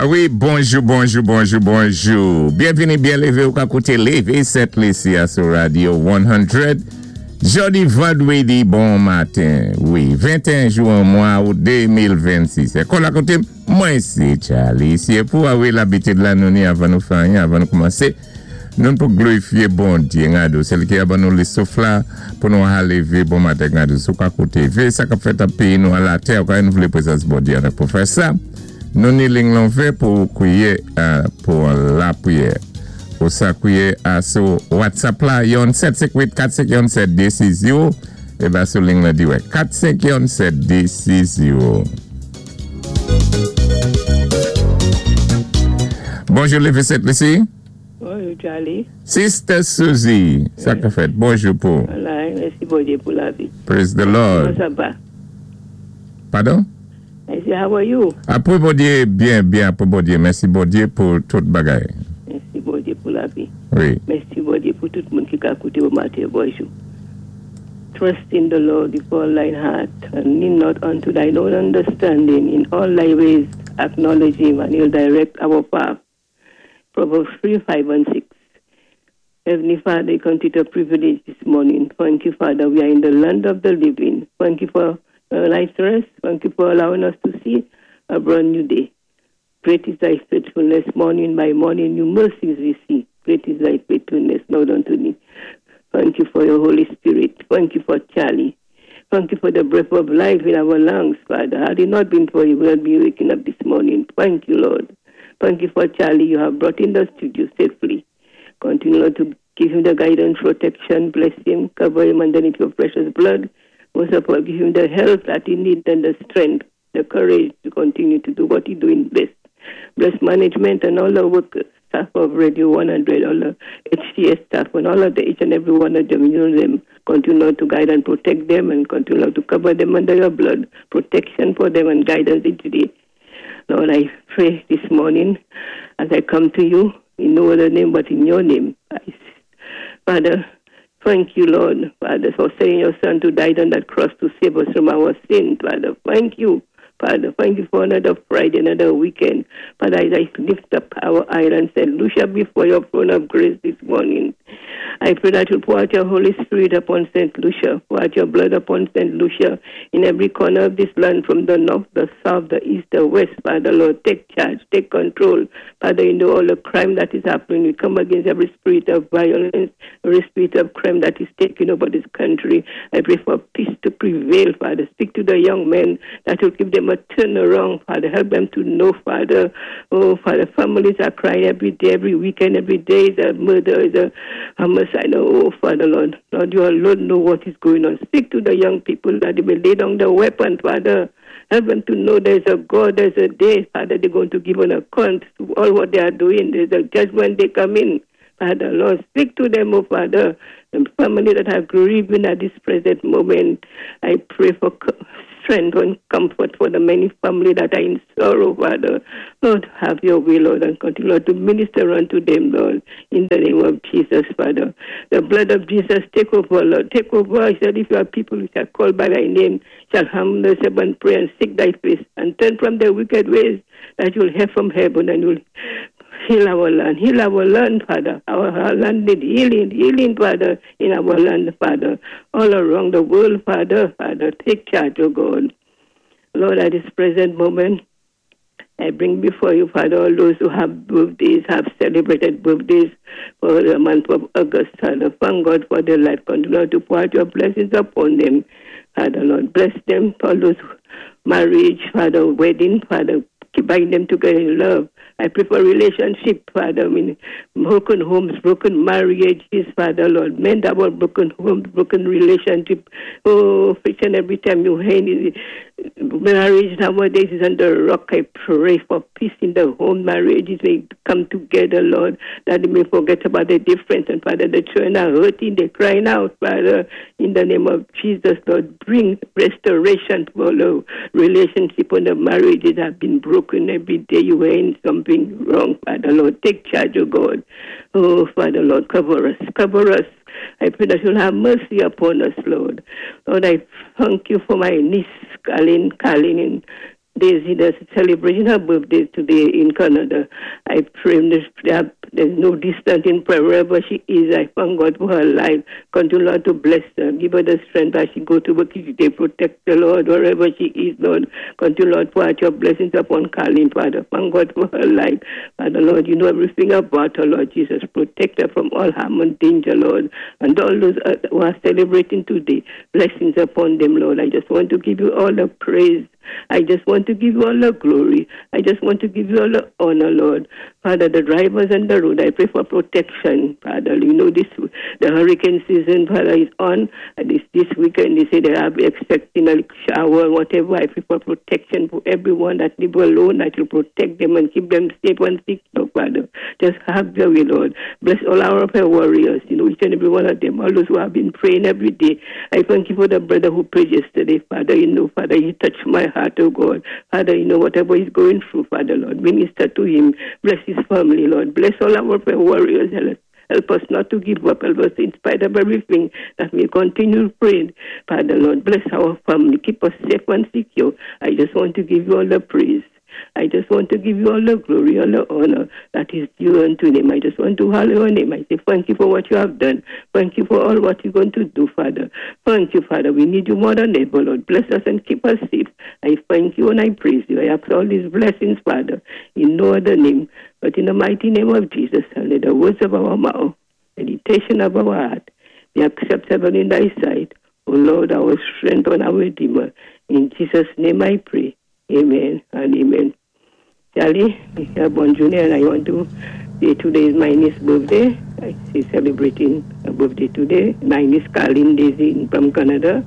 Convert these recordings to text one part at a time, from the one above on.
Wi, bonjou, bonjou, bonjou, bonjou. Byenvini, byen lévé, ou ka kouté Lévé Sent Lisi a sou Radio 100. Jòdi vandwédi bon maten. Wi, 21 jou an mwa out 2026. É kon la koté mwen sé Charlie. Si é pou wi labitid la nou ni avan nou fè anyen, avan nou koumansé, nou pou glorifié Bondyé Ngadou. Sé li ki a ban nou lé souf la pou nou a lévé bon maten Ngadou. Si ou ka kouté vé sa k-ap fèt an péyi nou a latè, ou ka nou vlé pwézans Bondyé an pou fè sa. Nou ni ling lan ouvè pou kwiyé pou lapriyè. Ou sa kwiyé a sou WhatsApp la yon 7 5 8 4 5 yon 7 2 6 0 é ba sou ling lan dirèk 4 5 yon 7 2 6 0. Bonjou Lévé Sent Lisi. Bonjou Charlie. Sister Suzy, sa ka fèt? Bonjou pou. Wala, mèsi Bondyé pou lavi. Praise the Lord. Kouman sa va? Padon? I say, how are you? Apwé Bondyé, byen, byen apwé Bondyé. Mèsi Bondyé pou tout bagay. Mèsi Bondyé pou lavi. Wi. Mèsi Bondyé pou tout moun ki ka kouté bon maten. Bonjou. Trust in the Lord with all thine heart and lean not unto thine own understanding. In all thy ways acknowledge him and he'll direct our path. Proverbs 3, 5 and 6. Heavenly Father, you continue to privilege this morning. Thank you, Father. We are in the land of the living. Thank you for your night's rest. Thank you for allowing us to see a brand new day. Great is thy faithfulness. Morning by morning, new mercies we see. Great is thy faithfulness, Lord, unto me. Thank you for your Holy Spirit. Thank you for Charlie. Thank you for the breath of life in our lungs, Father. Had it not been for you, we would be waking up this morning. Thank you, Lord. Thank you for Charlie. You have brought in the studio safely. Continue, Lord, to give him the guidance, protection, bless him, cover him underneath your precious blood. Most of all, give him the health that he needs and the strength, the courage to continue to do what he's doing best. Bless management and all the workers, staff of Radio 100, all the HTS staff, and all of the each and every one of them. You know them. Continue to guide and protect them and continue to cover them under your blood. Protection for them and guidance each day. Lord, I pray this morning as I come to you in no other name but in your name. Father, thank you, Lord, Father, for sending your Son to die on that cross to save us from our sin, Father. Thank you, Father. Thank you for another Friday, another weekend. Father, as I lift up our island, St. Lucia before your throne of grace this morning, I pray that you pour out your Holy Spirit upon St. Lucia, pour out your blood upon St. Lucia in every corner of this land, from the north, the south, the east, the west. Father, Lord, take charge, take control. Father, you know all the crime that is happening. We come against every spirit of violence, every spirit of crime that is taking over this country. I pray for peace to prevail, Father. Speak to the young men that will give them a turnaround, Father. Help them to know, Father. Oh, Father, families are crying every day, every weekend, every day is a murder, is a homicide. Oh, Father, Lord. Lord, you alone know what is going on. Speak to the young people that they may lay down the weapon, Father. Help them to know there's a God, there's a day, Father, they're going to give an account to all what they are doing. There's a judgment they come in. Father, Lord, speak to them, oh Father, the family that are grieving at this present moment. I pray for strength and comfort for the many family that are in sorrow, Father. Lord, have your will, Lord, and continue, Lord, to minister unto them, Lord, in the name of Jesus, Father. The blood of Jesus, take over, Lord. Take over. He said, if your people which are called by thy name shall humble themselves and pray and seek thy face and turn from their wicked ways, that you'll hear from heaven and you'll heal our land. Heal our land, Father. Our land need healing, healing, Father, in our land, Father. All around the world, Father, Father, take charge, O God. Lord, at this present moment, I bring before you, Father, all those who have birthdays, have celebrated birthdays for the month of August. Father, thank God for their life. Continue to pour out your blessings upon them. Father, Lord, bless them for those marriage, Father, wedding, Father, bind them together in love. I pray for relationship, Father. I mean, broken homes, broken marriages, Father, Lord. Mend our broken homes, broken relationship. Oh, each and every time you hear marriage nowadays is under rock. I pray for peace in the home. Marriages may come together, Lord, that they may forget about the difference. And Father, the children are hurting, they're crying out, Father, in the name of Jesus, Lord, bring restoration to all the relationship and the marriages have been broken every day. You were in something wrong, Father, Lord. Take charge, oh God. Oh, Father, Lord, cover us, cover us. I pray that you'll have mercy upon us, Lord. Lord, I thank you for my niece, Colin, Colin in Daisy that's celebrating her birthday today in Canada. I pray that there's no distance in prayer wherever she is. I thank God for her life. Continue, Lord, to bless her. Give her the strength as she go to work each day. Protect the Lord wherever she is, Lord. Continue, Lord, pour out your blessings upon Carlene, Father. Thank God for her life. Father, Lord, you know everything about her, Lord Jesus. Protect her from all harm and danger, Lord. And all those who are celebrating today, blessings upon them, Lord. I just want to give you all the praise. I just want to give you all the glory. I just want to give you all the honor, Lord. Father, the drivers on the road, I pray for protection, Father. You know this, the hurricane season, Father, is on. And this weekend, they say they are expecting a shower, whatever. I pray for protection for everyone that live alone, that you protect them and keep them safe and secure, Father. Just have your way, Lord. Bless all our prayer warriors, you know, each and every one of them, all those who have been praying every day. I thank you for the brother who prayed yesterday, Father. You know, Father, you touched my heart, oh God. Father, you know, whatever he's going through, Father, Lord, minister to him. Bless his family, Lord. Bless all our prayer warriors. Help us not to give up. Help us in spite of everything that we continue praying. Father, Lord, bless our family. Keep us safe and secure. I just want to give you all the praise. I just want to give you all the glory, all the honor that is due unto him. I just want to hallow your name. I say thank you for what you have done. Thank you for all what you're going to do, Father. Thank you, Father. We need you more than ever, Lord. Bless us and keep us safe. I thank you and I praise you. I ask all these blessings, Father, in no other name, but in the mighty name of Jesus. And let the words of our mouth, meditation of our heart, be acceptable in thy sight. O Lord, our strength and our Redeemer. In Jesus' name I pray. Amen and amen. Charlie, bonn jounin, and I want to say today is my niece's birthday. She's celebrating her birthday today. My niece Carlene Daisy from Canada.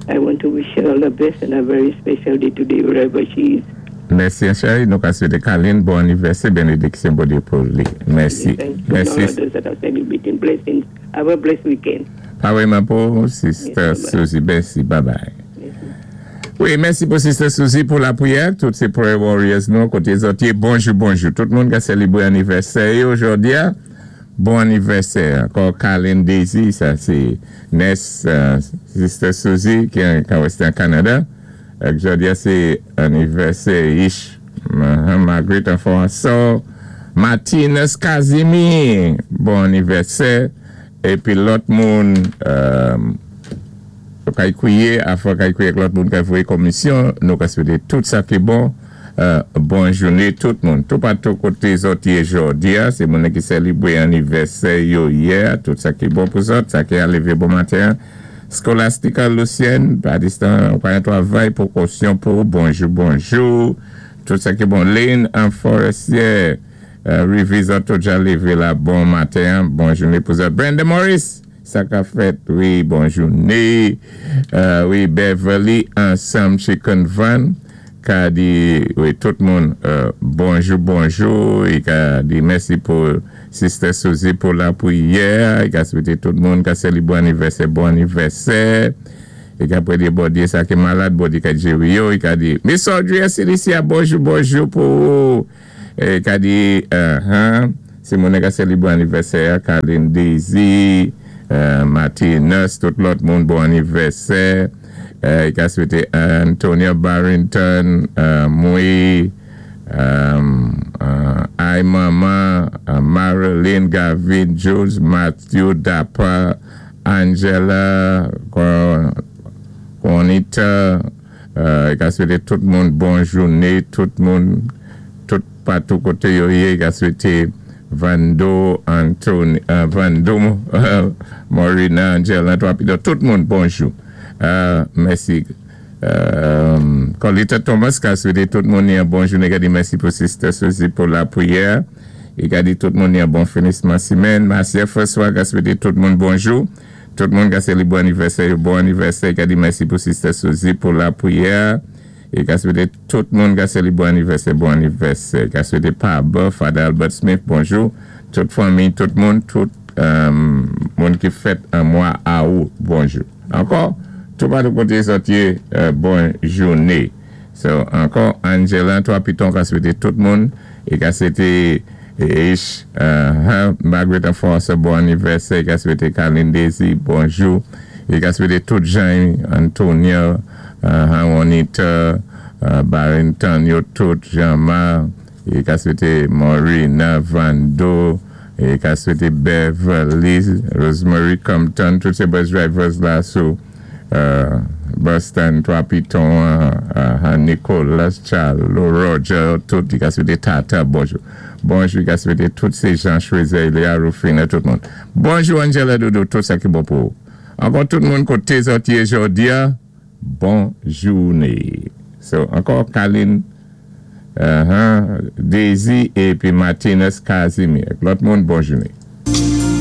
I want to wish her all the best and a very special day today wherever she is. Mèsi, chéri. Nou ka swété Carlene bon anivèsè, bénédiksyon Bondyé pou li. Mèsi. Thank you. Mèsi. All others that are celebrating blessings. Have a blessed weekend. Parèyman pou Sister Yes, bye-bye. Susie. Mèsi. Bye bye. Mèsi. Wi, mèsi pou Sister Susie pou lapriyè. Tout sé prayer warriors nou koté zòt yé. Bonjou, bonjou. Tout moun ka sélébré anivèsè jòdi-a. Bon anivèsè. Ankò Carlene Daisy, sa sé niece Sister Susie ki an Western Canada. Jòdi-a sé anivèsè Ish Margaret Anfonso Martinez Casimir. Bon anivèsè. Épi lòt moun kay kwiyé, afè kay kwiyé ak lòt moun kay voyé komisyon, nou ka swété tout sa ki bon. Bon jounin tout moun. Tout patou koté zòt yé jòdi-a, sé moun ki sélébré anivèsè yo yè, tout sa ki bon pou zòt, sa ki a lévé bon maten. Scholastica Lucienne, pa distan, pa yon travay pou kosyon pou bonjou, bonjou. Tout sa ki bon. Lynn en Forestier, Rivizan tout ja lévé la bon maten, bon jounin pou zòt. Brenda Morris, sa ka fèt, wi, bon jounin. Wi, Beverly Ansam Chicken Van, ka di, wi, tout moun, bonjou, bonjou. I ka di mèsi pou Sister Susie pou lapriyè. I ka swété tout moun ka sélébré anivèsè, bon anivèsè. I ka prédé Bondyé sa ki malad, Bondyé ka géri yo. I ka di, Miss Audrey Celicia, bonjou, bonjou pou i ka di, si moun ka sélébré anivèsè, Carlene Daisy, Martinez, tout lòt moun, bon anivèsè. I ka swété Antonia Barrington, mwi, ay Mama, Marilyn Gavin, Jules, Matthew, Dapper, Angela, Juanita, i ka swété tout moun bon jounin, tout moun, tout patou koté yo yé, i ka swété Vando, Anthony, Vando, Morina, Angela, tout moun bonjou. Mèsi. Colita Thomas ka swété tout moun yon bon jounin, ka di mèsi pou Sister Susie pou lapriyè. I ka di tout moun yon bon finisman simèn. Marcia François ka swété tout moun bonjou. Tout moun ka sélébré anivèsè, bon anivèsè. I ka di mèsi pou Sister Susie pou lapriyè. I ka swété tout moun ka sélébré anivèsè, bon anivèsè. I ka swété Paba, Father Albert Smith, bonjou. Tout fanmi, tout moun, tout moun ki fèt an mwa awou, bonjou. Ankò, tout patou koté zòt yé, bon jounin. So, ankò, Angela, twa piton ka swété tout moun. I ka swété Ish, Margaret Enforcer, bon anivèsè. I ka swété Carlene Daisy, bonjou. I ka swété tout Jean, Antonia, Juanita, Barrington yo tout, Jean-Marc, é ka swété Maureen, Vando, é ka swété Beverly, Rosemary Compton, tout sé bus drivers la sou bus stand 3 Piton, Nicholas, Charlo, Roger, tout, i ka swété Tata, bonjou. Bonjou, i ka swété tout sé Jean Choiseul, Léa Rufina, tout moun. Bonjou Angela Doudou, tout sa ki bon pou ou. Ankò tout moun koté zòt yé jòdi-a, bon jouné. So, ankò Kaline, Daisy épi Martinez Casimir. Lòt moun, bon jouné.